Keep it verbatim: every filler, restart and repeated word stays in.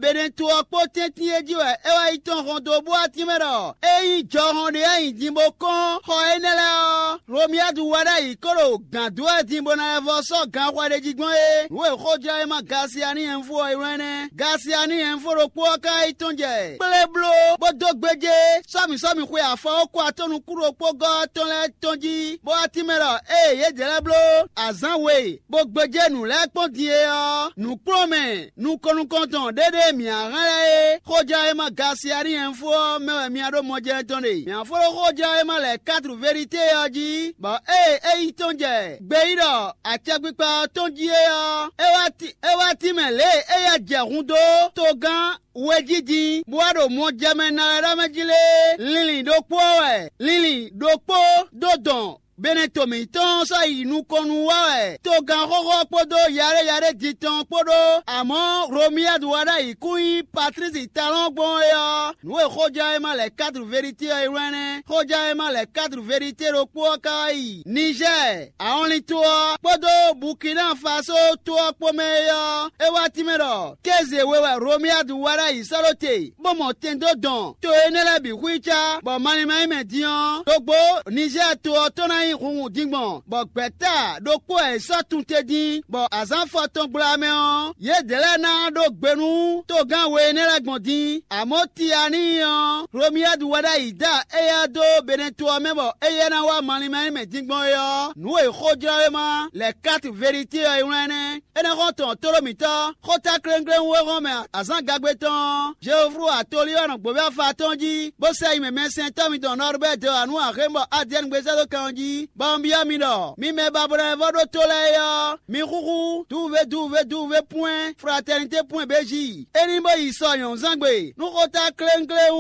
Benɛto ɔ́ kpó tɛ́ntin e jí wɛ é wá yi tɔn hɔn dó bó atín mɛ ɖɔ é nyí jɔhɔn ɖé e nyi din bó kɔn xɔ énɛ́ lɛ́ɛ ɔ́, Romiyadu wá ɖ'ayǐ kó ɖo gǎn dó wɛ din bó ná lɛ́ vɔ́ sɔ́ ganxɔ ɖé jí gbɔn é. Nǔ e xójlɔ́yéma Gasiani Ɛnfo ɔ́ ylɔ́ énɛ́. Gasiani Ɛnfo ɖokpó ɔ́ ka yi tɔ́n jɛ kplé bló bó dó gbéjé sɔ́mǐ sɔ́mǐ xwe afɔwókɔ atɔ́ nukún ɖokpó gɔ́ ɔ́ tɔn lɛ́ɛ tɔn jí, bó wá tínmɛ ɖɔ ée yědɛɛ lɛ́ɛ bló azǎn we bó gbéjé nǔ lɛ́ɛ kpɔ́n din é ɔ́, nǔkplɔ́nmɛ nukɔn nukɔn tɔn ɖé ɖé mǐ a hɛn lɛ́ é. Xójlɔ́yéma Gasiani Ɛnfo ɔ́ mɛ wɛ mi a ɖó mɔjɛ́nɛ́ tɔn ɖe. Mǐ a fó ɖó xójlɔ́yéma lɛ̌ katru Verite ɔ́ jí, bɔ ée é yi tɔ́n jɛ gbeyíɖɔ acɛkpikpa ɔ́ tɔn jí é ɔ́, é wá ti é wá tínmɛ lě e éyɛ́ jɛ hun dó togán we jí din, bó wá ɖo mɔjɛmɛ ná wɛ ɖ'amɛ jí lé. Linlin ɖokpó ɔ́ wɛ linlin ɖokpó dó dɔn Beneto mǐtɔn sɔ́ yi nukɔn nú wá wɛ togán xóxó ɔ́ kpódó yaɖéyaɖé din tɔn kpó ɖó. Amɔ̌, Romiyadu wá ɖ'ayǐ kún nyí Patlísi Talɔ́n gbɔn é ɔ́, nǔ e xójlɔ́yéma lɛ̌ katru Verite ɔ́ ylɔ́ ɛnɛ́. Xójlɔ́yéma lɛ̌ katru Verite ɖokpó ɔ́ ka wá yi Nizɛ́ɛ, ahɔnlin to ɔ́ kpódó Bukina Faso to ɔ́ kpó mɛ é ɔ́, é wá tínmɛ ɖɔ kéze we wɛ Romiyadu wá ɖ'ayǐ sɔ́ ɖó te, bó mɔ tɛn dó dɔn to énɛ́ lɛ́ɛ bǐ xwícá, bɔ malín ma nyí mɛ din ɔ́, ɖokpó Nizɛ́ɛ to ɔ́ tɔn ná nyí hunhun din gbɔn, bɔ gbɛ̌ta ɖokpó wɛ è sɔ́ tun te din, bɔ azǎn fɔtɔn gbla mɛ ɔ́, yědɛɛ lɛ́ɛ ná ɖó gbe nú togán we énɛ́ lɛ́ɛ gbɔn din. Amɔ̌ Tianíi ɔ́, Romiyadu wɛ ɖ'ayǐ da éyɛ́ dó Beneto ɔ́ mɛ bɔ éyɛ́ ná wá malín ma nyí mɛ din gbɔn é ɔ́, nǔ e xójlɔ́wéma lɛ̌ kátu Verite ɔ́ ylɔ́ ɛnɛ́. Énɛ́ xɔ́ntɔn tóɖó mǐtɔn, xóta kléŋkléŋ e hɔn mɛ azǎn gagbe tɔn ɔ́, Jeoflu atolí ɔ́ nɔ gbǒví afa tɔn jí, bó sɛ yi mɛ mɛsɛntɔ́ mitɔn Nɔrbɛ́ɛ dó anǔ axémbɔ Adiɛ́nugbe sɛ́ dó kan ɔ́ jí, bɔ un byɔ́ mi ɖɔ: mi mɛ babɔnɔ e vɔ́ ɖótó lɛ́ɛ é ɔ́, mi xúxú duwuvé duwuvé duwuvé pwɛ́n fratɛnitě pwɛ́n béjí. É ní bó yi sɔ nyɔ̌nuzángbe nú xóta kléŋkléŋ